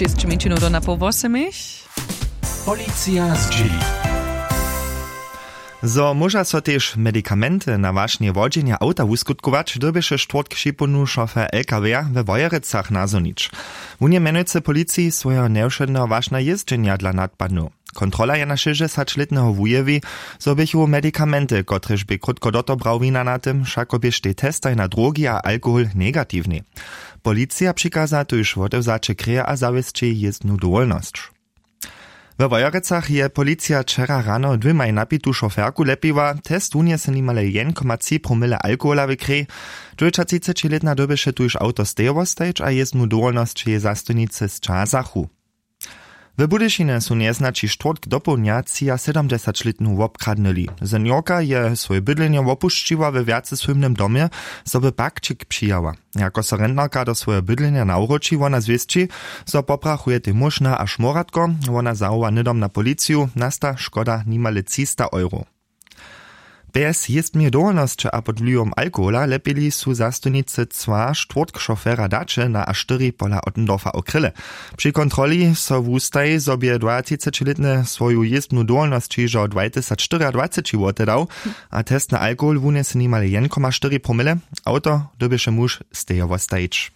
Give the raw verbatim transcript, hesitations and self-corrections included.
Šesć minut do na poł wosomich. Policija zdźěli. Zo móža so tež medikamenty na wašnje wodźenja awta wuskutkować, dyrbješe štwórtk připołdnju šofer L K W-a we Wojerecach nazhonić. Wón je mjenujcy policiji swojeho njewšedneho wašna jězdźenja dla nadpadnył. Kontrola je na šěsćdźesaćlětneho wujewi, zo běchu medikamenty, kotrež bě krótko do to brał, wina na tym, wšako běštej testaj na drogi a alkohol negatiwnej. Policija přikaza tuž wotewzaće kreje a zawěsći jězbnu dowolnosć. We Wojerecach je policija wčera rano dwěmaj napitu šoferku lepiła. Test wunjesył nimale jedyn koma tři promile alkohola w krej. Dwjećatřicećilětna dyrbješe tuž awto stejo wostajić a jězbnu dowolnosć jeje zastojnicy sćazachu. W Budyšinje su njeznaći štwórtk dopołdnja třiasydomdźesaćlětnu wobkradnyli. Seniorka je swoje bydlenje wopušćiła we wjacesłójbnym domje, zo by pakćik přijała. Jako so rentnerka do swojeho bydlenja nawróći, wona zwěsći, zo poprachuje tej móžna a šmoratko. Wona zawoła hnydom na policiju, nasta škoda nimale třista euro. Bjez jězbneje dowolnosće a pod wliwom alkohola lepili su zastojnicy cła štwórtk šofera daće na a štyri pola Ottendorfa w Krylle. Při kontroli so wustaji, zo bě dwajatřicećilětny swoju jězbnu dowolnosć hižo dwajtysacštyriadwaceći wotedał a test na alkohol wunjesył nimale jedyn koma štyri promile. Awto dyrbješe muž stejo wostajić.